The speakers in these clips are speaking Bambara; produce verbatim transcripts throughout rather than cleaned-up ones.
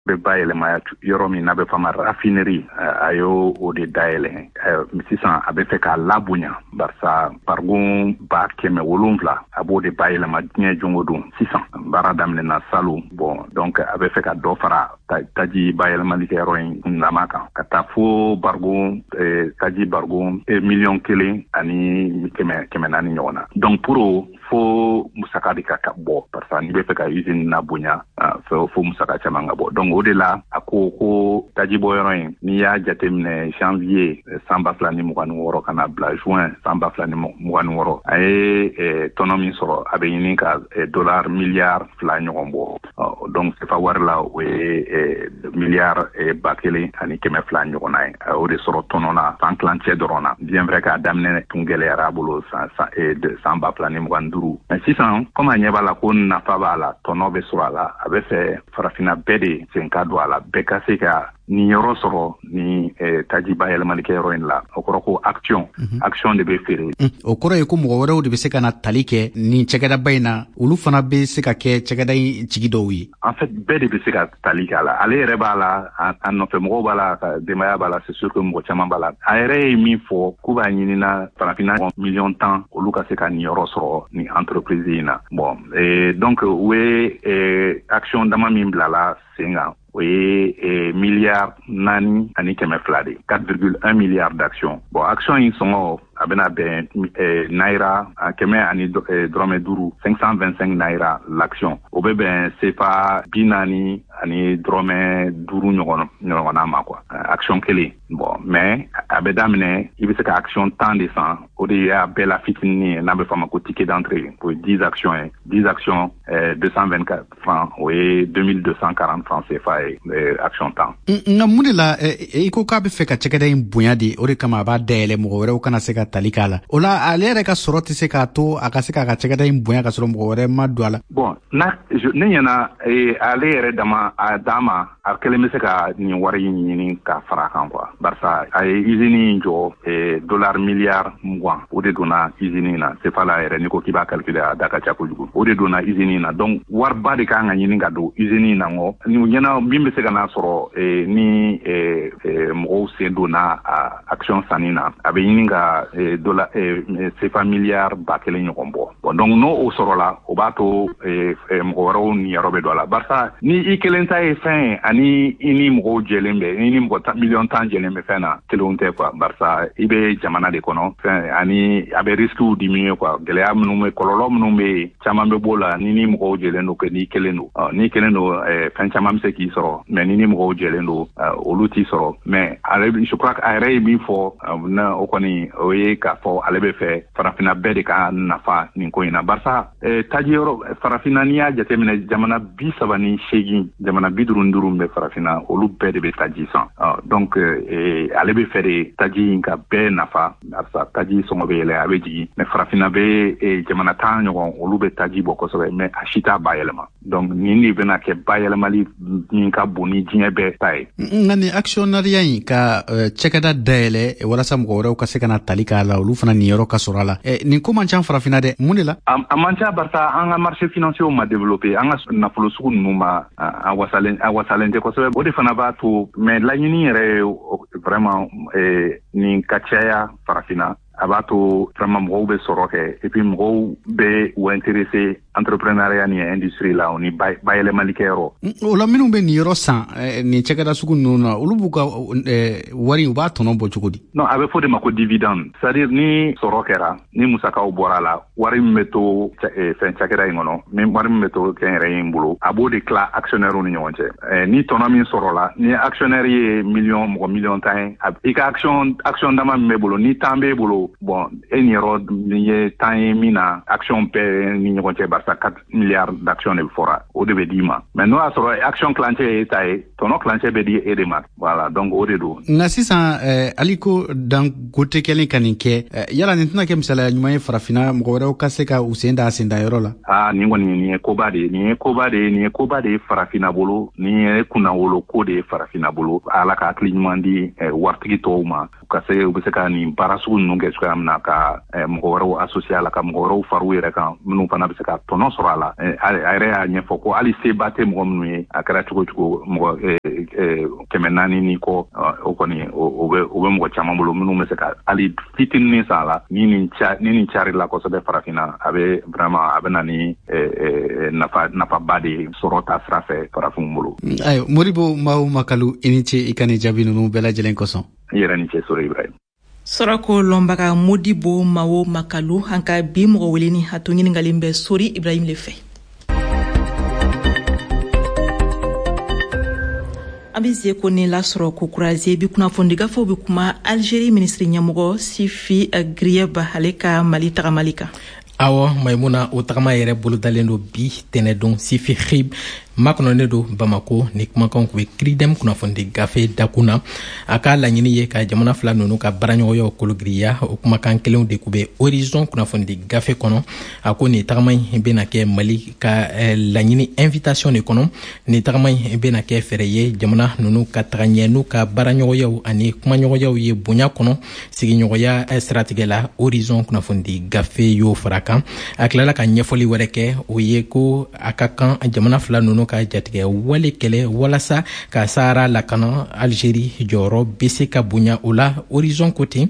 Bɛ bayɛlɛma yɔrɔ min n'a bɛ fɔ a ma raffinerie, a y'o o de dayɛlɛ. Sisan a bɛ fɛ k'a labonya, barisa barigon ba kɛmɛ wolonfila, a b'o de bayɛlɛma diɲɛ don o don. Sisan baara daminɛna salon. Bon, donc a bɛ fɛ ka dɔ fara taji bayɛlɛmalikɛyɔrɔ in kundama kan ka taa fo barigon, taji barigon miliyɔn kelen ani kɛmɛ kɛmɛ naani ɲɔgɔn na. Donc pour fo musaka de ka ka bɔ, parce n'i bɛ fɛ ka usine na bonya, fo fo musaka caman ka bɔ. Donc o de la a ko ko taji bɔ yɔrɔ in, n'i y'a jateminɛ, janvier san ba fila ni mugan ni wɔɔrɔ ka na bila juin san ba fila ni mugan ni wɔɔrɔ, a ye tɔnɔ min sɔrɔ, a bɛ ɲini ka dollar miliyari fila ɲɔgɔn bɔ. Donc C F A wari la, o ye miliyari ba kelen ani kɛmɛ fila ɲɔgɔnna ye. A y'o de sɔrɔ tɔnɔ na san kilancɛ dɔrɔn na. Bien vrai k'a daminɛ tun gɛlɛyara a bolo san san ba fila ni mugan ni duuru, mais sisan komi a ɲɛ b'a la ko nafa b'a la, tɔnɔ bɛ sɔrɔ a la, a bɛ fɛ Farafinna bɛɛ de sen ka don a la, bɛɛ ka se ka nin yɔrɔ sɔrɔ ni taji bayɛlɛmalikɛyɔrɔ in la. O kɔrɔ ko action action de bɛ feere. O kɔrɔ ye ko mɔgɔ wɛrɛw de bɛ se ka na tali kɛ nin cakɛdaba in na, olu fana bɛ se ka kɛ cakɛda in tigi dɔw ye. En fait, bɛɛ de bɛ se ka tali kɛ a la. Ale yɛrɛ b'a la, a nɔfɛ mɔgɔw b'a la, ka denbaya b'a la, c'est sûr que mɔgɔ caman b'a la. A yɛrɛ ye min fɔ k'u b'a ɲinina Farafinna miliyɔn tan, olu ka se ka nin yɔrɔ sɔrɔ nin entreprise in na. Bon, donc u ye action dama min bilala sen kan, o ye miliyari naani ani kɛmɛ fila de, quatre virgule un milliard d'action. Bon, action in sɔngɔ a bɛna bɛn naira kɛmɛ ani dɔrɔmɛ duuru, cinq cent vingt-cinq naira l'action. O bɛ bɛn C F A bi naani ani dɔrɔmɛ duuru ɲɔgɔn ɲɔgɔnna ma quoi, action kelen. Bon, mais a bɛ daminɛ, i bɛ se ka action tan de san. O de y'a bɛɛ la fitinin ye, n'a bɛ fɔ a ma ko ticket d'entrée. O ye dix actions ye. dix actions, deux cent vingt-quatre francs, o ye deux mille deux cent quarante francs C F A ye, action tan. Nka mun de la i ko k'a bɛ fɛ ka cakɛda in bonya de, o de kama a b'a dayɛlɛ mɔgɔ wɛrɛw kana se ka tali k'a la? O la, ale yɛrɛ ka sɔrɔ tɛ se k'a to a ka se k'a ka cakɛda in bonya ka sɔrɔ mɔgɔ wɛrɛ ma don a la? Bon, na ne ɲɛna, ale yɛrɛ dama a d'a ma, a kelen bɛ se ka nin wari in ɲini ka fara a kan quoi, barisa a ye usine in jɔ, dollar miliyari mugan o de donna usine in na. C F A la yɛrɛ, n'i ko k'i b'a calculer, a da ka ca kojugu. O de donna usine in na. Donc wariba de kan ka ɲini ka don usine in na. Ngɔ ni ɲɛna min bɛ se ka n'a sɔrɔ ni mɔgɔw sen donna a action sanni na, a bɛ ɲini ka dollar C F A miliyari ba kelen ɲɔgɔn bɔ. Bon, donc n'o o sɔrɔla, o b'a to mɔgɔ wɛrɛw niyɔrɔ bɛ don a la, barisa ni i kelen ta ye fɛn ye ani i ni mɔgɔw jɛlen bɛ, i ni mɔgɔ miliyɔn tan jɛlen bɛ fɛn na, kelenw tɛ quoi, barisa i bɛ jamana de kɔnɔ fɛn ani a bɛ risques diminuer quoi. Gɛlɛya minnu bɛ, kɔlɔlɔ minnu bɛ yen, caman bɛ b'o la ni ni mɔgɔw jɛlen don que n'i kelen don. N'i kelen don, fɛn caman bɛ se k'i sɔrɔ, mais ni ni mɔgɔw jɛlen don, olu t'i sɔrɔ. Mais ale, je crois, a yɛrɛ ye min fɔ na, o kɔni o ye k'a fɔ ale bɛ fɛ Farafinna bɛɛ de ka nafa nin ko in na, barisa taji yɔrɔ Farafinna, n'i y'a jateminɛ, jamana bi saba ni seegin, jamana bi duuru ni duuru bɛ Farafinna, olu bɛɛ de bɛ taji san. Donc ale bɛ fɛ de taji in ka bɛɛ nafa, barisa taji sɔngɔ bɛ yɛlɛ, a bɛ jigin, mais Farafinna bɛ jamana tan ɲɔgɔn, olu bɛ taji bɔ kosɛbɛ, mais a si t'a bayɛlɛma. Donc nin de bɛna kɛ bayɛlɛmali min ka bon ni diɲɛ bɛɛ ta ye. Nka nin actionnariat in, ka cakɛda dayɛlɛ walasa mɔgɔ wɛrɛw ka se ka na tali k'a la, olu fana niyɔrɔ ka sɔrɔ a la, nin ko man ca Farafinna dɛ. Mun de la? A man ca, barisa an ka marché financier ma développé, an ka nafolo sugu ninnu ma a wasalen, a wasalen tɛ kosɛbɛ. O de fana b'a to. Mais laɲini yɛrɛ ye vraiment nin ka caya Farafinna. A b'a to vraiment mɔgɔw bɛ sɔrɔ kɛ, et puis mɔgɔw bɛ u intéressé entrepreneuriat ni industrie la, o ni bayɛlɛmalikɛyɔrɔ. O la, minnu bɛ nin yɔrɔ san nin cakɛda sugu ninnu na, olu b'u ka wari, u b'a tɔnɔ bɔ cogo di? Non, a bɛ fɔ de ma ko dividende, c'est à dire ni sɔrɔ kɛra, ni musakaw bɔra la, wari min bɛ to fɛn cakɛda in kɔnɔ, ni wari min bɛ to kɛnyɛrɛye in bolo, a b'o de tila actionnaire ni ɲɔgɔn cɛ. Ni tɔnɔ min sɔrɔla, ni actionnaire ye miliyɔn mɔgɔ miliyɔn tan ye, i ka action action dama min bɛ bolo, ni tan b'e bolo, bon, e niyɔrɔ ni ye tan ye min na action bɛɛ ni ɲɔgɔn cɛ, barisa quatre milliards d'actions de fɔra, o de bɛ d'i ma. Mais n'o y'a sɔrɔ action kilancɛ ye e ta ye, tɔnɔ kilancɛ bɛ di e de ma. Voilà, donc o de don. Nka sisan, Aliko Dangote kɛlen ka nin kɛ, yala nin tɛna kɛ misaliya ɲuman ye Farafinna, mɔgɔ wɛrɛw ka se ka u sen da a sen da yɔrɔ la? Aa, nin kɔni, nin ye koba de ye, nin ye koba de ye, nin ye koba de ye Farafinna bolo, nin ye kunnawolo ko de ye Farafinna bolo. Ala ka hakili ɲuman di waritigi tɔw ma, u ka se, u bɛ se ka nin baara sugu ninnu kɛ. cogoya min na ka mɔgɔ wɛrɛw associé a la, ka mɔgɔ wɛrɛw far'u yɛrɛ kan minnu fana bɛ se ka tɔnɔ sɔrɔ a la. A yɛrɛ y'a ɲɛfɔ ko hali seba tɛ mɔgɔ minnu ye, a kɛra cogo cogo mɔgɔ kɛmɛ naani ni kɔ, o kɔni o bɛ o bɛ mɔgɔ caman bolo minnu bɛ se ka hali fitinin san a la. Ni nin ni nin carila kosɛbɛ farafinna, a bɛ vraiment a bɛ na ni nafa nafaba de ye sɔrɔ ta sira fɛ farafinw bolo. Ayiwa, Modibo Mao Makalu, i ni ce i ka nin jaabi ninnu bɛɛ lajɛlen kosɔn. I yɛrɛ ni ce, Sori Ibrahim. Sɔrɔko lɔnbaga Modibo Mao Makalu, an ka bi mɔgɔ weleni, a to ɲininkalen bɛ Sori Ibrahim le fɛ. An bɛ ze ko ni lasɔrɔ ko kuraze bi kunnafoni gafew bɛ kuma Algérie minisiri ɲɛmɔgɔ Sifi Ghrieb ale ka Mali tagamali kan. Awɔ, Maimuna, o tagama yɛrɛ bolodalen don bi tɛnɛdon. Sifi Ghrieb makɔnɔnen don Bamako. Ni kumakanw kun bɛ Kiridɛm kunnafonidi gafe dakun na. A ka laɲini ye ka jamana fila ninnu ka baaraɲɔgɔnyaw kologiriya. O kumakan kelenw de kun bɛ Horizon kunnafonidi gafe kɔnɔ. A ko nin tagama in bɛna kɛ Mali ka laɲini invitation de kɔnɔ. Nin tagama in bɛna kɛ fɛɛrɛ ye jamana ninnu ka taga ɲɛ n'u ka baaraɲɔgɔnyaw ani kumaɲɔgɔnyaw ye bonya kɔnɔ sigiɲɔgɔnya siratigɛ la. Horizon kunnafonidi gafe y'o fara kan. A tilala ka ɲɛfɔli wɛrɛ kɛ, o ye ko a ka kan jamana fila ninnu ka jatigɛ wale kɛlɛ walasa ka Sahara lakana. Algérie jɔyɔrɔ bɛ se ka bonya o la. Horizon ko ten,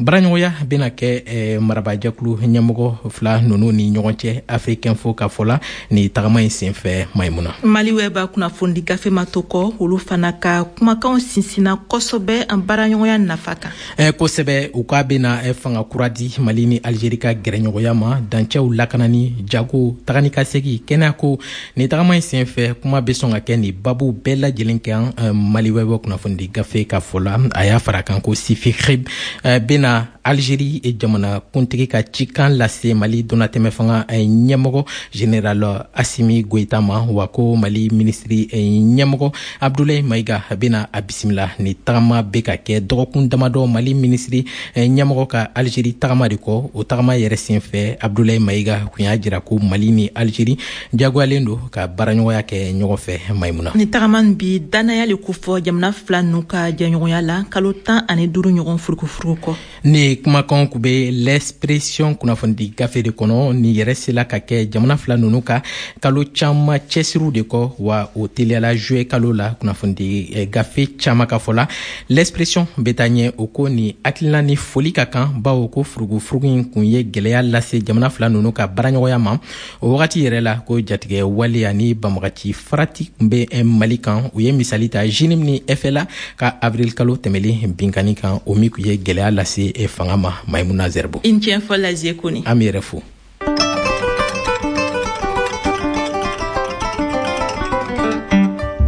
baaraɲɔgɔnya bɛna kɛ eh, marabajɛkulu ɲɛmɔgɔ fila ninnu ni ɲɔgɔn cɛ Afrique Info ka fɔ la ni tagama in senfɛ. Maimuna, Mali wɛba kunnafonidi gafe ma to kɔ, olu fana ka kumakanw sinsinna kosɛbɛ an baaraɲɔgɔnya nafa kan. Eh, kosɛbɛ, u k'a bɛna eh, fanga kura di Mali ni Algérie ka gɛrɛɲɔgɔnya ma, dancɛw lakanani, jago, taga ni ka segin, kɛnɛyako. Ni tagama in senfɛ, kuma bɛ sɔn ka kɛ nin babu bɛɛ lajɛlen kan. Mali wɛbɛ kunnafonidi gafe ka fɔ la, a y'a fara kan ko Sifi Ghrieb bɛna Algérie jamana kuntigi ka cikan lase Mali donnatɛmɛ fanga ɲɛmɔgɔ général Assimi Goïta ma, wa ko Mali minisiri ɲɛmɔgɔ Abdoulaye Maïga bɛna a bisimila. Ni tagama bɛ ka kɛ dɔgɔkun damadɔ Mali minisiri ɲɛmɔgɔ ka Algérie tagama de kɔ. O tagama yɛrɛ senfɛ, Abdoulaye Maïga kun y'a jira ko Mali ni Algérie jagoyalen don ka baaraɲɔgɔnya kɛ ɲɔgɔn fɛ. Maimuna, ni tagama bi danaya le kofɔ jamana fila ninnu ka jɛɲɔgɔnya la kalo tan ani duuru ɲɔgɔn furukufuruku kɔ. Ni kumakanw kun bɛ L'Expression kunnafonidi gafe de kɔnɔ. Ni yɛrɛ sela ka kɛ jamana fila ninnu ka kalo caman cɛsiriw de kɔ, wa o teliyala juillet kalo la. Kunnafonidi gafe caman ka fɔ la, L'Expression bɛ taa ɲɛ o ko ni hakilina ni foli ka kan, bawo ko furugufurugu in kun ye gɛlɛya lase jamana fila ninnu ka baaraɲɔgɔnya ma. O wagati yɛrɛ la, ko jatigɛ wale ani banbagaci farati kun bɛ Mali kan. U ye misali ta JNIM ni F L A ka avril kalo tɛmɛlen binkanni kan, o min kun ye gɛlɛya lase fanga ma. Maimuna Zerbo, i ni ce fɔ Lazie Kone. An b'i yɛrɛ fo.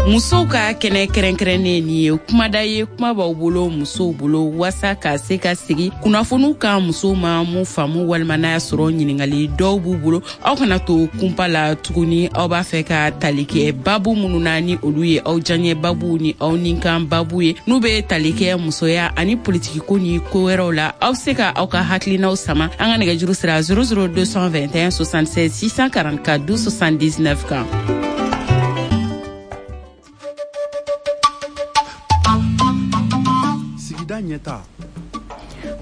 Musow ka kɛnɛ kɛrɛnkɛrɛnnen nin ye kumada ye, kuma b'aw bolo musow bolo waasa ka se ka sigi kunnafoniw kan musow ma mun faamu, walima n'a y'a sɔrɔ ɲininkali dɔw b'u bolo. Aw kana to kunpa la tuguni. Aw b'a fɛ ka tali kɛ babu minnu na ni olu ye aw diyaɲɛ babu ni aw ninkan babu ye, n'u bɛ tali kɛ musoya ani politikiko ni ko wɛrɛw la, aw bɛ se ka aw ka hakilinaw sama an ka nɛgɛjuru sira zéro zéro deux cent vingt et un soixante-seize six cent quarante-quatre douze soixante-dix-neuf kan.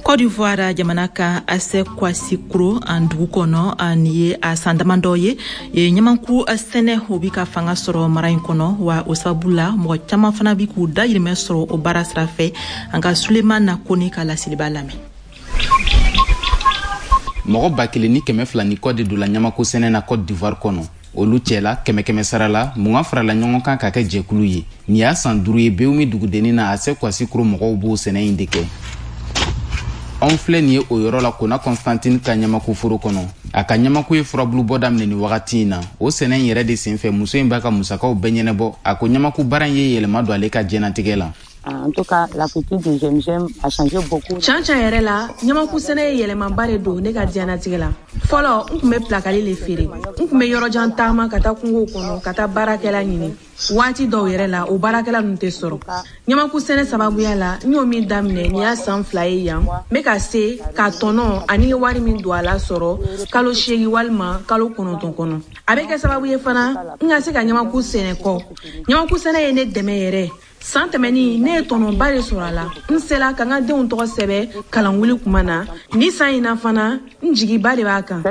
Côte d'Ivoire jamana ka Ase Kwasikuro an dugu kɔnɔ, ani ye a san damadɔ ye ɲamanku sɛnɛ o bi ka fanga sɔrɔ mara in kɔnɔ, wa o sababu la mɔgɔ caman fana bi k'u dayirimɛ sɔrɔ o baara sira fɛ. An ka Sulemana Kone ka laseliba lamɛn. Mɔgɔ ba kelen ni kɛmɛ fila ni kɔ de donna ɲamako sɛnɛ na Côte d'Ivoire kɔnɔ. Olu cɛla kɛmɛ kɛmɛ sara la mugan farala ɲɔgɔn kan ka kɛ jɛkulu ye. Nin y'a san duuru ye Bewumi dugudennin na Ase Kwasikuro mɔgɔw b'o sɛnɛ in de kɛ. Anw filɛ nin ye o yɔrɔ la Kona Constantine ka ɲamako foro kɔnɔ. A ka ɲamako ye furabulu bɔ daminɛ nin wagati in na. O sɛnɛ in yɛrɛ de senfɛ muso in b'a ka musakaw bɛɛ ɲɛnabɔ. A ko ɲamako baara in ye yɛlɛma don ale ka diɲɛnatigɛ la. En tout cas, la culture du G M G M a changé beaucoup. Can can yɛrɛ la, ɲamaku sɛnɛ ye yɛlɛmaba de don ne ka diɲɛnatigɛ la. Fɔlɔ, n tun bɛ pilakali le feere. N tun bɛ yɔrɔjan taama ka taa kungow kɔnɔ ka taa baarakɛla ɲini. Waati dɔw yɛrɛ la, o baarakɛla ninnu tɛ sɔrɔ. Ɲamaku sɛnɛ sababuya la, n y'o min daminɛ nin y'a san fila ye yan. N bɛ ka se ka tɔnɔ ani ye wari min don a la sɔrɔ kalo seegin walima kalo kɔnɔntɔn kɔnɔ. A bɛ kɛ sababu ye fana n ka se ka ɲamaku sɛnɛ kɔ. Ɲamaku sɛnɛ ye ne dɛmɛ yɛrɛ. San tɛmɛnin ne ye tɔnɔba de sɔrɔ a la. N sela ka n ka denw tɔgɔ sɛbɛn kalanwuli kuma na. Ni san in na fana, n jigiba de b'a kan.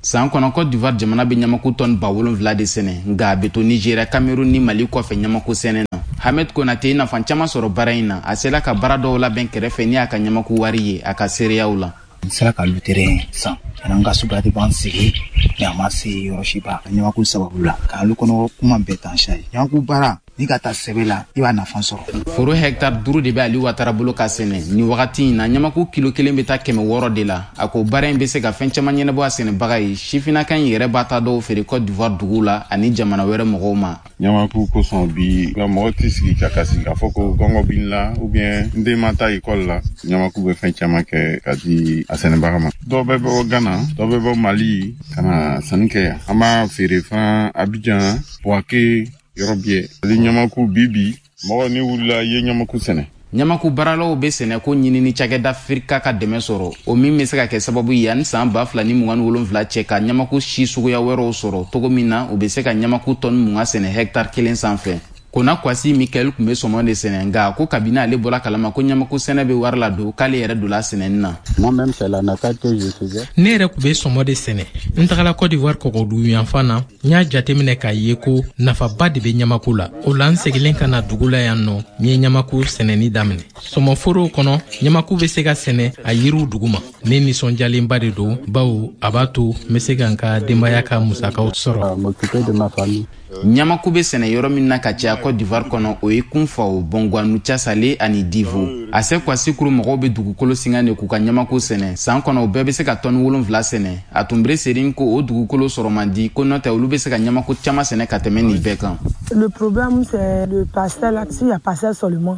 San kɔnɔ, Cote d'Ivoire jamana bɛ ɲamaku tɔni ba wolonfila de sɛnɛ, nka a bɛ to Nigéria, Cameroun ni Mali kɔfɛ ɲamaku sɛnɛ na. Hamed Konate ye nafa caman sɔrɔ baara in na. A sela ka baara dɔw labɛn kɛrɛfɛ ni a ka ɲamaku wari ye a ka seereyaw la. N sera ka lutere san n ka suba de b'an sigi mais a ma se yɔrɔ si ba ɲamaku sababu la k'alu kɔnɔ kuma bɛɛ tan sa ye ɲamaku baara ni ka taa sɛbɛ la, i b'a nafa sɔrɔ. Foro hɛkitari duuru de bɛ Ali Watara bolo ka sɛnɛ nin wagati in na. Ɲamaku kilo kelen bɛ taa kɛmɛ wɔɔrɔ de la. A ko baara in bɛ se ka fɛn caman ɲɛnabɔ a sɛnɛbaga ye. Sifinnaka in yɛrɛ b'a ta dɔw feere Cote d'Ivoire dugu la ani jamana wɛrɛ mɔgɔw ma. Ɲamaku kosɔn bi nka mɔgɔ tɛ sigi ka kasi k'a fɔ ko gɔngɔ b'i la ou bien n den ma taa ekɔli la. Ɲamaku bɛ fɛn caman kɛ ka di a sɛnɛbaga ma. Dɔw bɛ bɔ Ghana, dɔw bɛ bɔ Mali ka na sanni kɛ yan. An b'a feere fana Abidjan, Bouaké, yɔrɔ biyɛ. Ale ɲamaku bi bi mɔgɔ ni wulila i ye ɲamaku sɛnɛ. Ɲamaku baaralaw bɛ sɛnɛko ɲinini cakɛda Firika ka dɛmɛ sɔrɔ, o min bɛ se ka kɛ sababu ye yanni san ba fila ni mugan ni wolonfila cɛ ka ɲamaku si suguya wɛrɛw sɔrɔ cogo min na u bɛ se ka ɲamaku tɔni mugan sɛnɛ hɛkitari kelen sanfɛ. Kona Kwasi Mikael tun bɛ sɔmɔ de sɛnɛ, nka ko kabini ale bɔra kalama ko ɲamaku sɛnɛ bɛ wari la don, k'ale yɛrɛ donna sɛnɛni na. Ne yɛrɛ tun bɛ sɔmɔ de sɛnɛ. N tagala Cote d'Ivoire kɔgɔdugu yanfan na, n y'a jateminɛ k'a ye ko nafaba de bɛ ɲamaku la. O la n seginnen ka na dugu la yan nɔ, n ye ɲamaku sɛnɛni daminɛ. Sɔmɔforow kɔnɔ, ɲamaku bɛ se ka sɛnɛ a yiriw duguma. Ne nisɔndiyalenba de don, bawo a b'a to n bɛ se ka n ka denbaya ka musakaw sɔrɔ. Ɲamaku bɛ sɛnɛ yɔrɔ min na ka caya Cote d'Ivoire kɔnɔ, o ye Kunfawo, Bɔnguwanu, Casale ani Divo. A se Kwasikuru mɔgɔw bɛ dugukolo singa de k'u ka ɲamaku sɛnɛ. San kɔnɔ, u bɛɛ bɛ se ka tɔni wolonfila sɛnɛ. A tun bere serin ko o dugukolo sɔrɔ man di, ko n'o tɛ olu bɛ se ka ɲamaku caman sɛnɛ ka tɛmɛ nin bɛɛ kan.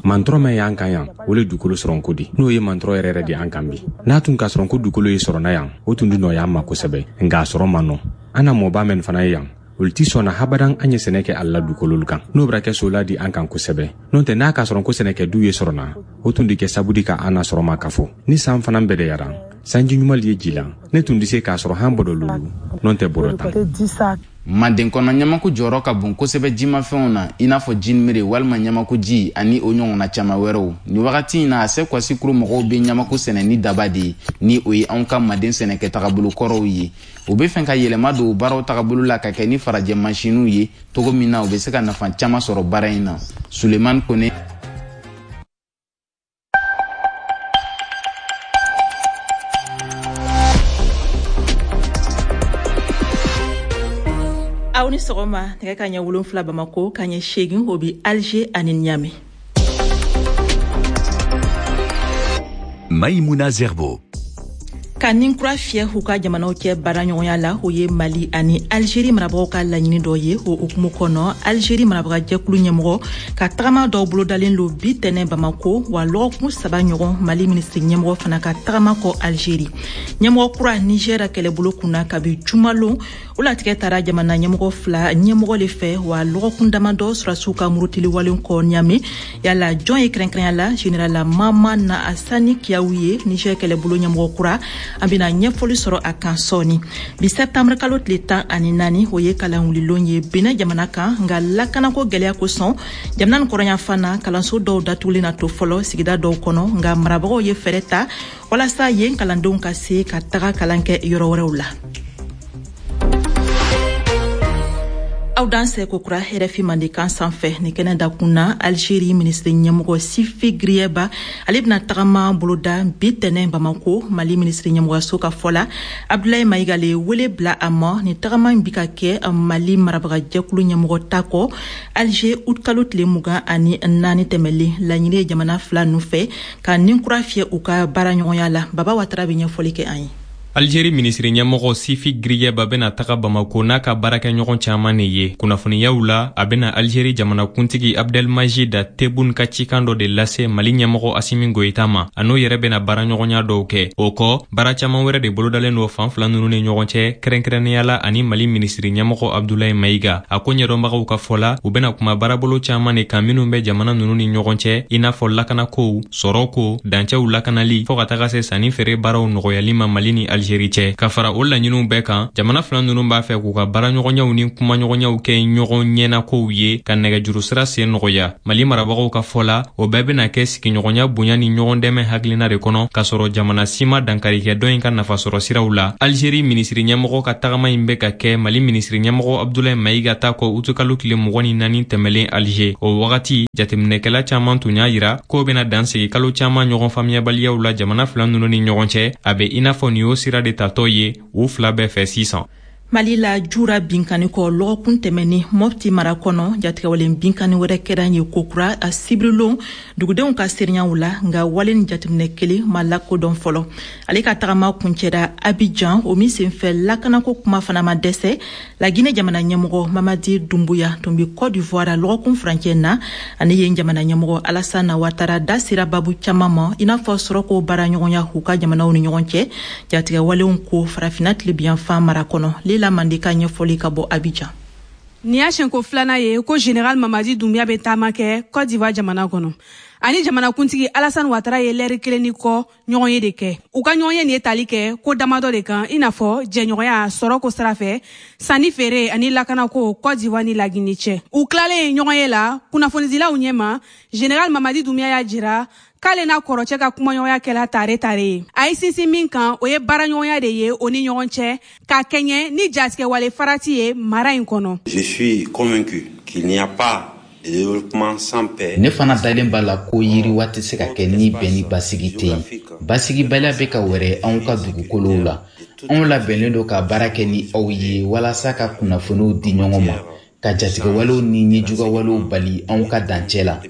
Mantɔrɔ min y'an kan yan, o le dugukolo sɔrɔnko di. N'o ye mantɔrɔ yɛrɛ yɛrɛ de an kan bi, n'a tun ka sɔrɔ ko dugukolo ye sɔrɔna yan, o tun di nɔgɔya an ma kosɛbɛ, nka a sɔrɔ man nɔ. An na mɔba mɛn fana ye yan, olu ti sɔnna habadan an ye sɛnɛ kɛ a la dugukololu kan. N'o bɛra kɛ sola di an kan kosɛbɛ. N'o tɛ n'a ka sɔrɔ ko sɛnɛkɛ du ye sɔrɔna, o tun di kɛ sabu di ka an na sɔrɔ ma ka fɔ. Ni san fana bɛdɛyara, sanji ɲuman ye ji la, ne tun di se k'a sɔrɔ han bɔdɔ lulu, n'o tɛ bɔdɔ tan. Manden kɔnɔ, ɲamaku jɔyɔrɔ ka bon kosɛbɛ jimafɛnw na, i n'a fɔ jinimere walima ɲamaku ji ani o ɲɔgɔnna caman wɛrɛw. Nin wagati in na, a se Kwasikuru mɔgɔw bɛ ɲamaku sɛnɛ ni daba de ye, ni o ye anw ka manden sɛnɛkɛ tagabolo kɔrɔw ye. U bɛ fɛ ka yɛlɛma don baaraw tagabolo la ka kɛ ni farajɛ mansinw ye cogo min na u bɛ se ka nafa caman sɔrɔ baara in na. Sulemani Kone. Aw ni sɔgɔma. Nɛgɛ ka ɲɛ wolonfila Bamako, ka ɲɛ seegin o bi Alger ani Niamey. Maïmouna Zerbo. Ka nin kura fiyɛ u ka jamanaw cɛ baaraɲɔgɔnya la, o ye Mali ani Algérie marabagaw ka laɲini dɔ ye. O hukumu kɔnɔ, Algérie marabaga jɛkulu ɲɛmɔgɔ ka tagama dɔw bolodalen lo bi tɛnɛ Bamako, wa lɔgɔkun saba ɲɔgɔn Mali minisiri ɲɛmɔgɔ fana ka tagama kɔ Algérie. Ɲɛmɔgɔ kura Niger kɛlɛbolo kunna kabi jumalon, o latigɛ taara jamana ɲɛmɔgɔ fila ɲɛmɔgɔ le fɛ, wa lɔgɔkun damadɔ sɔrɔdasiw ka murutili walen kɔ Niamey. Yala jɔn ye kɛrɛnkɛrɛnya la général Maman Asani Kiyawu ye Niger kɛlɛbolo ɲɛmɔgɔ kura? An bɛna ɲɛfɔli sɔrɔ a kan sɔɔni. Bi septembre kalo tile tan ani naani, o ye kalanwulilon ye Benin jamana kan, nka lakanako gɛlɛya kosɔn jamana nin kɔrɔnyanfan na, kalanso dɔw datugulen na to fɔlɔ sigida dɔw kɔnɔ, nka marabagaw ye fɛɛrɛ ta walasa yen kalandenw ka se ka taga kalan kɛ yɔrɔ wɛrɛw la. Aw dansɛ kokura R F I Mandenkan sanfɛ. Ni kɛnɛ dakun na, Algérie minisiri ɲɛmɔgɔ Sifi Griyeba, ale bɛna tagama boloda bi tɛnɛ Bamako. Mali minisiri ɲɛmɔgɔyaso ka fɔ la, Abdoulaye Maïga le wele bila a ma. Ni tagama in bi ka kɛ Mali marabaga jɛkulu ɲɛmɔgɔ ta kɔ Alger août kalo tile mugan ani naani tɛmɛlen. Laɲini ye jamana fila ninnu fɛ ka nin kura fiyɛ u ka baaraɲɔgɔnya la. Baba Watara bɛ ɲɛfɔli kɛ an ye. Algérie minisiri ɲɛmɔgɔ Sifi Griyeba bɛna taga Bamako n'a ka baarakɛɲɔgɔn caman de ye. Kunnafoniyaw la, a bɛna Algérie jamanakuntigi Abdelmajid Tebboune ka cikan dɔ de lase Mali ɲɛmɔgɔ Assimi Goïta ma. A n'o yɛrɛ bɛna baaraɲɔgɔnya dɔw kɛ. O kɔ, baara caman wɛrɛ de bolodalen don fan fila ninnu ni ɲɔgɔn cɛ, kɛrɛnkɛrɛnnenya la ani Mali minisiri ɲɛmɔgɔ Abdoulaye Maïga. A ko ɲɛdɔnbagaw ka fɔ la, u bɛna kuma baarabolo caman de kan minnu bɛ jamana ninnu ni ɲɔgɔn cɛ, i n'a fɔ lakanakow, sɔrɔko, dancɛw lakanali, fɔɔ ka taga se sanni feere baaraw nɔgɔyali ma Mali ni Algérie Algérie cɛ. Ka fara o laɲiniw bɛɛ kan, jamana fila ninnu b'a fɛ k'u ka baaraɲɔgɔnyaw ni kumaɲɔgɔnyaw kɛ ɲɔgɔn ɲɛnakow ye, ka nɛgɛjuru sira sen nɔgɔya. Mali marabagaw ka fɔ la, o bɛɛ bɛna kɛ sigiɲɔgɔnya bonya ni ɲɔgɔn dɛmɛ hakilina de kɔnɔ, k'a sɔrɔ jamana si ma dankari kɛ dɔ in ka nafasɔrɔ siraw la. Algérie minisiri ɲɛmɔgɔ ka tagama in bɛ ka kɛ Mali minisiri ɲɛmɔgɔ Abdoulaye Maïga ta kɔ utukalo tile mugan ni naani tɛmɛlen Alger. O wagati jateminɛkɛla caman tun y'a yira k'o bɛna dansigi kalo caman ɲɔgɔn faamuyabaliyaw la jamana fila ninnu ni ɲɔgɔn cɛ. A bɛ i n'a fɔ nin y'o sira de tatɔ ye u fila bɛɛ fɛ sisan. Mali la, jura binkani kɔ lɔgɔkun tɛmɛni Mɔpti mara kɔnɔ, jatigɛwalen binkani wɛrɛ kɛra ye kokura a sibirilon dugudenw ka seereyaw la, nka wale ni jateminɛ kelen ma lakodɔn fɔlɔ. Ale ka tagama kuncɛra Abidjan, o min senfɛ lakanako kuma fana ma dɛsɛ. Lagine jamana ɲɛmɔgɔ Mamadi Doumbouya tun bɛ Côte d'Ivoire lɔgɔkun furancɛ na, ani yen jamana ɲɛmɔgɔ Alassane Ouattara da sera babu caman ma, i n'a fɔ sɔrɔko baaraɲɔgɔnya u ka jamanaw ni ɲɔgɔn cɛ, jatigɛwalenw ko farafinna tilebiyanfan mara kɔnɔ. Lela Mande ka ɲɛfɔli ka bɔ Abidjan. Nin y'a siɲɛko filanan ye ko général Mamadi Doumbouya bɛ taama kɛ Côte d'Ivoire jamana kɔnɔ. Ani jamanakuntigi Alassane Ouattara ye lɛri kelen ni kɔ ɲɔgɔn ye de kɛ. U ka ɲɔgɔn ye nin ye tali kɛ ko damadɔ de kan, i n'a fɔ jɛɲɔgɔnya sɔrɔko sira fɛ, sanni feere ani lakanako Côte d'Ivoire ni Lagine cɛ. U tilalen ɲɔgɔn ye la kunnafonidilaw ɲɛma, général Mamadi Doumbouya y'a jira k'ale n'a kɔrɔcɛ ka kumaɲɔgɔnya kɛla tare tare ye. A ye sinsin min kan, o ye baaraɲɔgɔnya de ye o ni ɲɔgɔn cɛ, ka kɛɲɛ ni jatigɛwale farati ye mara in kɔnɔ. Je suis convaincu qu'il n'y a pas de développement sans paix. Ne fana dalen b'a la ko yiriwa tɛ se ka kɛ ni bɛn ni basigi tɛ yen. Basigibaliya bɛ ka wɛrɛ anw ka dugukolow la. Anw labɛnnen don ka baara kɛ ni aw ye walasa ka kunnafoniw di ɲɔgɔn ma, ka jatigɛwalew ni ɲɛjugawalew bali anw ka dancɛ la.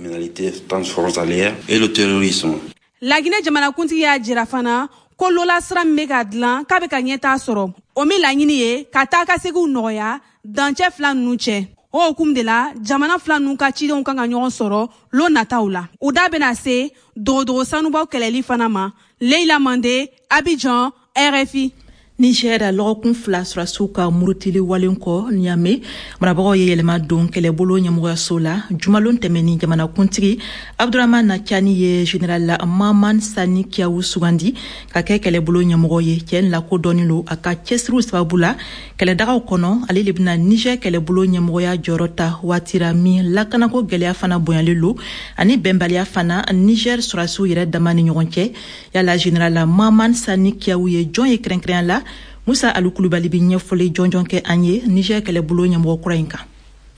Laginɛ jamanakuntigi y'a jira fana ko lola sira min bɛ ka dilan k'a bɛ ka ɲɛtaa sɔrɔ, o min laɲini ye ka taa ka seginw nɔgɔya dancɛ fila ninnu cɛ. O hukumu de la, jamana fila ninnu ka cidenw kan ka ɲɔgɔn sɔrɔ lon nataw la. U da bɛna se dogodogo sanubaw kɛlɛli fana ma. Leila Mande, Abidjan, R F I. Niger, lɔgɔkun fila sɔrɔdasiw ka murutili walen kɔ Niamey, marabagaw ye yɛlɛma don kɛlɛbolo ɲɛmɔgɔyaso la. Jumalon tɛmɛni, jamanakuntigi Abdourahamane Tiani ye général Maman Sani Kiawu sugandi ka kɛ kɛlɛbolo ɲɛmɔgɔ ye. Cɛ in lakodɔnnen don a ka cɛsiriw sababu la kɛlɛdagaw kɔnɔ. Ale de bɛna Niger kɛlɛbolo ɲɛmɔgɔya jɔyɔrɔ ta waati ra min lakanako gɛlɛya fana bonyalen lo, ani bɛnbaliya fana Niger sɔrɔdasiw yɛrɛ dama ni ɲɔgɔn cɛ. Yala général Maman Sani Kiawu ye jɔn ye kɛrɛnkɛrɛnya la? Musa Alu Kulubali bɛ ɲɛfɔli jɔnjɔn kɛ an ye Niger kɛlɛbolo ɲɛmɔgɔ kura in kan.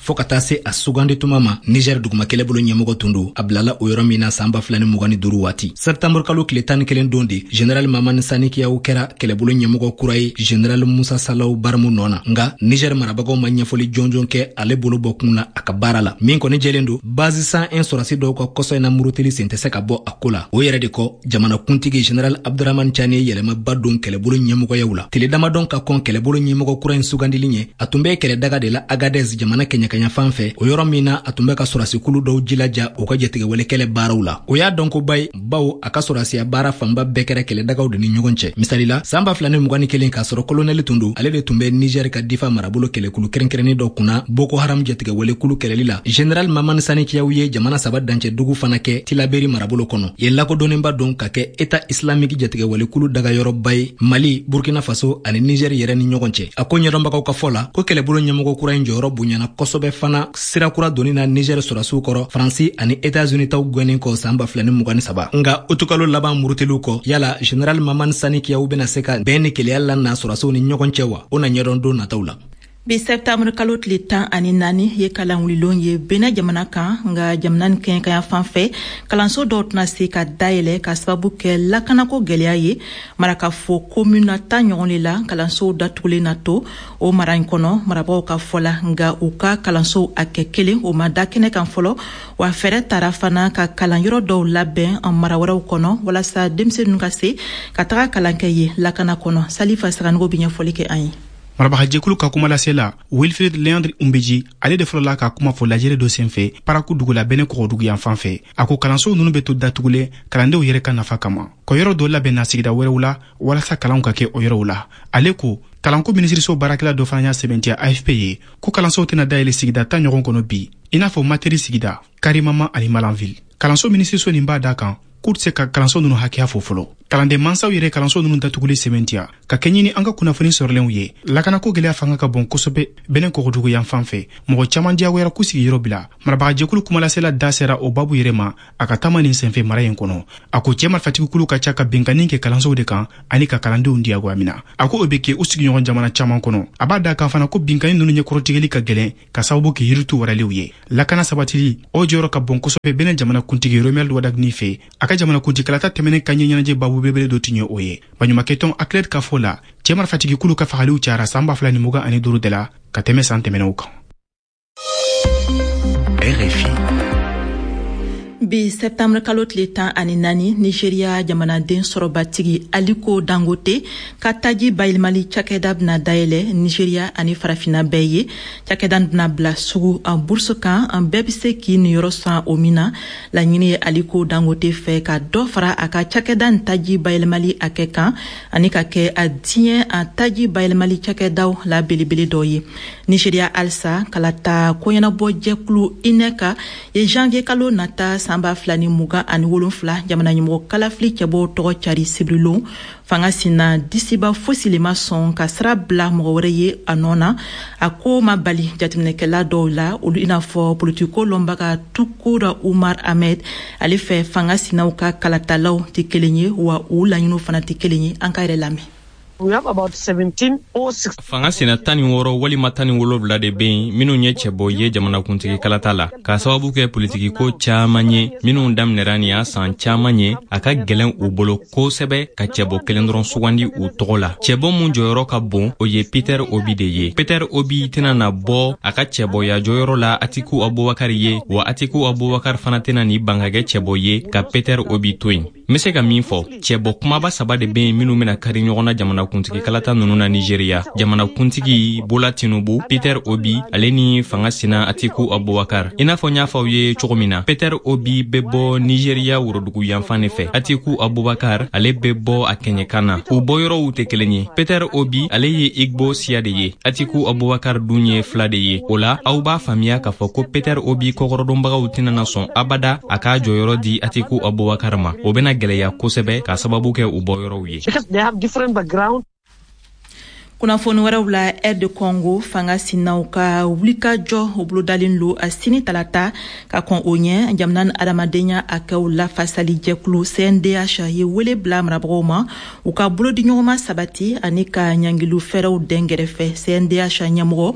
Fo ka taa se a sugandi tuma ma, Niger duguma kɛlɛbolo ɲɛmɔgɔ tun don. A bilala o yɔrɔ min na san ba fila ni mugan ni duuru waati, sɛptanburu kalo tile tan ni kelen don de général Mamani Sani Kiyaw kɛra kɛlɛbolo ɲɛmɔgɔ kura ye général Musa Salaw Barimu nɔ na. Nka Niger marabagaw ma ɲɛfɔli jɔnjɔn kɛ ale bolo bɔ kun na a ka baara la. Min kɔni jɛlen don, base cent un sɔrɔsi dɔw ka kɔsɔ in na murutili sen tɛ se ka bɔ a ko la. O yɛrɛ de kɔ, jamanakuntigi général Abdourahamane Tiani ye yɛlɛmaba don kɛlɛbolo ɲɛmɔgɔyaw la. Tile damadɔn ka kɔn kɛlɛbolo ɲɛmɔgɔ kura in sugandili ɲɛ, a tun bɛ kɛlɛdaga de la Agadez jamana kɛɲɛ kaɲa fɛ, o yɔrɔ min na a tun bɛ ka sɔrɔsikulu dɔw jilaja u ka jatigɛwale kɛlɛ baaraw la. O y'a dɔnkoba ye, bawo a ka sɔrɔsiya baara fanba bɛɛ kɛra kɛlɛdagaw de ni ɲɔgɔn cɛ. Misali la, san ba fila ni mugan ni kelen, k'a sɔrɔ kolonɛli tun don, ale de tun bɛ Niger ka difa marabolo kɛlɛkulu kɛrɛnkɛrɛnnen dɔ kunna Boko Haram jatigɛwalekulu kɛlɛli la. Général Mamani Sani Kiyaw ye jamana saba dancɛ dugu fana kɛ Tilaberi marabolo kɔnɔ. Yen lakodɔnnenba don ka kɛ État islamique jatigɛwalekulu dagayɔrɔba ye Mali, Burkina Faso ani Niger yɛrɛ ni ɲɔgɔn cɛ. A ko ɲɛdɔnbagaw ka fɔ la ko kɛlɛbolo ɲɛmɔgɔ kura in jɔyɔrɔ bonyana kosɛbɛ fana sirakura donni na Niger sɔrɔsiw kɔrɔ Faransi ani États-Unis taw gɛnnen kɔ san ba fila ni mugan ni saba. Nka utukalo laban murutiliw kɔ, yala général Mamani Sani Kiyaw bɛna se ka bɛn ni keleya la na sɔrɔsiw ni ɲɔgɔn cɛ wa? O na ɲɛdɔn don nataw la. Bi septembre kalo tile tan ani naani ye kalanwulilon ye Benin jamana kan, nka jamana ni kɛɲɛkanya fan fɛ kalanso dɔw tɛna se ka dayɛlɛ ka sababu kɛ lakanako gɛlɛya ye. Marakafo komuna tan ɲɔgɔn de la kalansow datugulen na to o mara in kɔnɔ, marabagaw ka fɔ la, nka u ka kalansow a kɛ kelen o ma da kɛnɛ kan fɔlɔ. Wa fɛɛrɛ tara fana ka kalanyɔrɔ dɔw labɛn mara wɛrɛw kɔnɔ walasa denmisɛnninw ka se ka taga kalan kɛ yen lakana kɔnɔ. Salifa Saganogo bɛ ɲɛfɔli kɛ an ye. Marabagajɛkulu ka kumalase la, Wilfred Leandre Umbeji, ale de fɔlɔla ka kuma fɔ lajɛrɛ dɔ senfɛ Paraku dugu la Benin kɔgɔdugu yan fan fɛ. A ko kalansow ninnu bɛ to datugulen kalandenw yɛrɛ ka nafa kama, kɔ yɔrɔ dɔ labɛnna sigida wɛrɛw la walasa kalanw ka kɛ o yɔrɔw la. Ale ko kalanko minisiriso baarakɛla dɔ fana y'a sɛbɛntiya A F P ye ko kalansow tɛna dayɛlɛ sigida tan ɲɔgɔn kɔnɔ bi, i n'a fɔ Materi sigida, Karimama ani Malanville. Kalanso minisiriso nin b'a da kan k'u tɛ se ka kalanso ninnu hakɛya fɔ fɔlɔ. Kalanden mansaw yɛrɛ kalanso ninnu datuguli sɛmɛntiya ka kɛɲɛ ni an ka kunnafoni sɔrɔlenw ye. Lakanako gɛlɛya fanga ka bon kosɛbɛ Benin kɔgɔdugu yan fan fɛ. Mɔgɔ caman diyagoyara k'u sigiyɔrɔ bila. Marabagajɛkulu kumalasela da sera o babu yɛrɛ ma a ka taama nin senfɛ mara in kɔnɔ. A ko cɛ marifatigikulu ka ca ka binkanni kɛ kalansow de kan ani ka kalandenw diyagoya mina. A ko o bɛ kɛ u sigiɲɔgɔn jamana caman kɔnɔ. A b'a da kan fana ko binkanni ninnu ɲɛkɔrɔtigɛli ka gɛlɛn ka sababu kɛ yiritu waraliw ye. Lakana sabatili o jɔyɔrɔ ka bon kosɛbɛ Benin jamanakuntigi Romuald Wadagni fɛ. A ka jamanakuntigikalata tɛmɛnen ka ɲɛɲɛnajɛ babu belebele dɔ tun ye o ye. Baɲumankɛtɔn ACLED ka fɔ la, cɛ marifatigikulu ka fagaliw cayara san ba fila ni mugan ani duuru de la ka tɛmɛ san tɛmɛnenw kan. R F I. Bi septembre kalo tile tan ani naani, Nigeria jamanaden sɔrɔbatigi Aliko Dangote ka taji bayɛlɛmali cakɛda bɛna dayɛlɛ Nigeria ani farafinna bɛɛ ye. Cakɛda bɛna bila sugu a bourse kan, an bɛɛ bɛ se k'i niyɔrɔ san o min na. Laɲini ye Aliko Dangote fɛ ka dɔ fara a ka cakɛda nin taji bayɛlɛmali hakɛ kan ani ka kɛ a diɲɛ a taji bayɛlɛmali cakɛdaw la belebele dɔ ye. Nigeria halisa kalata koɲɛnabɔ jɛkulu I N E C ye janvier kalo nata san ba fila ni mugan ani wolonfila jamana ɲɛmɔgɔ kalafili cɛbɔw tɔgɔ cari sibirilon. Fanga sina disiba fosi le ma sɔn ka sira bila mɔgɔ wɛrɛ ye a nɔ na. A ko ma bali jateminɛkɛla dɔw la, olu i n'a fɔ politiko lɔnbaga Tukura Umar Ahmed. Ale fɛ, fanga sinaw ka kalatalaw tɛ kelen ye, wa u laɲiniw fana tɛ kelen ye. An ka yɛrɛ lamɛn. Fanga sina tan ni wɔɔrɔ walima tan ni wolonwula de bɛ yen minnu ye cɛbɔ ye jamanakuntigi kalata la, k'a sababu kɛ politikiko caman ye minnu daminɛra nin y'a san caman ye. A ka gɛlɛn u bolo kosɛbɛ ka cɛbɔ kelen dɔrɔn sugandi u tɔgɔ la. Cɛbɔ mun jɔyɔrɔ ka bon, o ye Peter Obi de ye. Peter Obi tɛna na bɔ a ka cɛbɔya jɔyɔrɔ la Atiku Abubakar ye, wa Atiku Abubakar fana tɛna ni ban ka kɛ cɛbɔ ye ka Peter Obi to yen. N be se ka min fɔ, cɛbɔ kumaba saba de be yen minnu bena kari ɲɔgɔn na jamanakuntigi kalata nunu na Nigeria: jamanakuntigi Bola Tinubu, Peter Obi ale ni fanga sina Atiku Abubakar. I n'a fɔ n y'a fɔ aw ye cogo min na, Peter Obi bɛ bɔ Nigeria worodugu yanfan de fɛ, Atiku Abubakar ale bɛ bɔ a kɛɲɛkan na. U bɔyɔrɔw tɛ kelen ye. Peter Obi ale ye Igbo siya de ye, Atiku Abubakar dun ye fila de ye. O la, aw b'a faamuya k'a fɔ ko Peter Obi kɔkɔrɔdonbagaw tɛna na sɔn abada a k'a jɔyɔrɔ di Atiku Abubakar ma. O bɛna gɛlɛya kosɛbɛ k'a sababu kɛ u bɔyɔrɔw ye. Kunnafoni wɛrɛw la, R D Congo fanga sinaw ka wulikajɔ o bolodalen lo a sini talata. Ka kɔn o ɲɛ, jamana ni adamadenya hakɛw lafasali jɛkulu C N D H ye wele bila marabagaw ma u ka bolodiɲɔgɔnma sabati ani ka ɲangiliw fɛɛrɛw dɛn gɛrɛfɛ. C N D H ɲɛmɔgɔ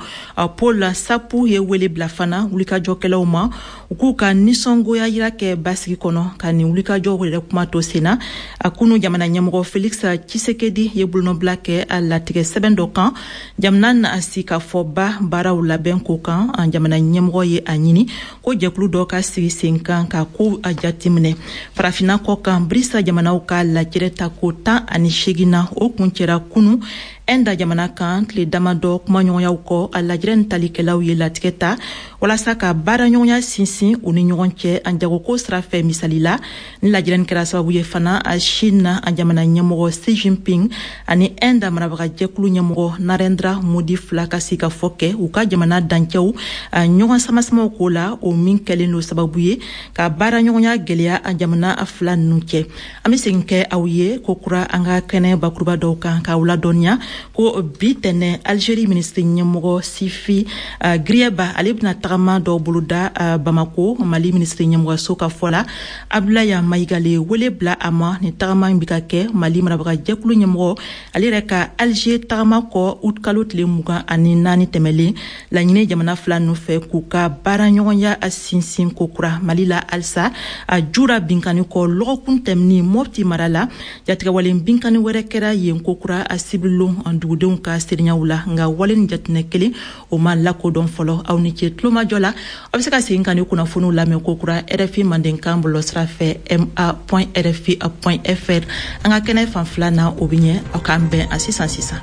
Paul Sapu ye wele bila fana wulikajɔkɛlaw ma u k'u ka nisɔngoya yira kɛ basigi kɔnɔ ka nin wulikajɔw yɛrɛ kuma to sen na. A kunu, jamana ɲɛmɔgɔ Felix Tshisekedi ye bolonɔbila kɛ a latigɛ sɛbɛn dɔ kan jamana na sigikafɔba baaraw labɛn ko kan. An jamana ɲɛmɔgɔ ye a ɲini ko jɛkulu dɔ ka sigi sen kan ka ko a jateminɛ. Farafinna kɔ kan, BRICS jamanaw ka lajɛrɛ ta ko tan ani seegin na, o kuncɛra kunu Ɛnda jamana kan. Tile damadɔ kumaɲɔgɔnyaw kɔ, a lajɛrɛ ni talikɛlaw ye latigɛ ta walasa ka baaraɲɔgɔnya sinsin u ni ɲɔgɔn cɛ an jagoko sira fɛ. Misali la, ni lajɛrɛ nin kɛra sababu ye fana a Chine an jamana ɲɛmɔgɔ Xi Jinping ani Ɛnda marabagajɛkulu ɲɛmɔgɔ Narendra Modi fila ka sigikafɔ kɛ u ka jamana dancɛw ɲɔgɔn samasamaw ko la, o min kɛlen don sababu ye ka baaraɲɔgɔnya gɛlɛya an jamana fila ninnu cɛ. An bɛ segin kɛ aw ye ko kura an ka kɛnɛ bakuruba dɔw kan k'aw ladɔnniya ko bi tɛnɛ, Algérie minisiri ɲɛmɔgɔ Sifi uh, Grieba ale bɛna tagama dɔw boloda uh, Bamako. Mali minisiri ɲɛmɔgɔso ka fɔ la, Abdoulaye Maïga le wele bila a ma. Nin tagama in bɛ ka kɛ Mali marabagajɛkulu ɲɛmɔgɔ ale yɛrɛ ka Alger tagama kɔ août kalo tile mugan ani naani tɛmɛlen. Laɲini jamana fila ninnu fɛ k'u ka baaraɲɔgɔnya sinsin ko kura. Mali la halisa, a jura binkani kɔ lɔgɔkun tɛmɛni Mopti mara la, jatigɛwalen binkani wɛrɛ kɛra yen ko kura a sibirilon dugudenw ka seereyaw la, nka wale ni jatinɛ kelen o ma lakodɔn fɔlɔ. Aw ni ce tulomajɔ la. Aw bɛ se ka segin ka ni kunnafoniw lamɛn ko kura R F I mandenkan bɔlɔlɔsira fɛ, ma point R F I point F R. An ka kɛnɛ fan fila na, o bɛ ɲɛ. Aw k'an bɛn a sisan sisan.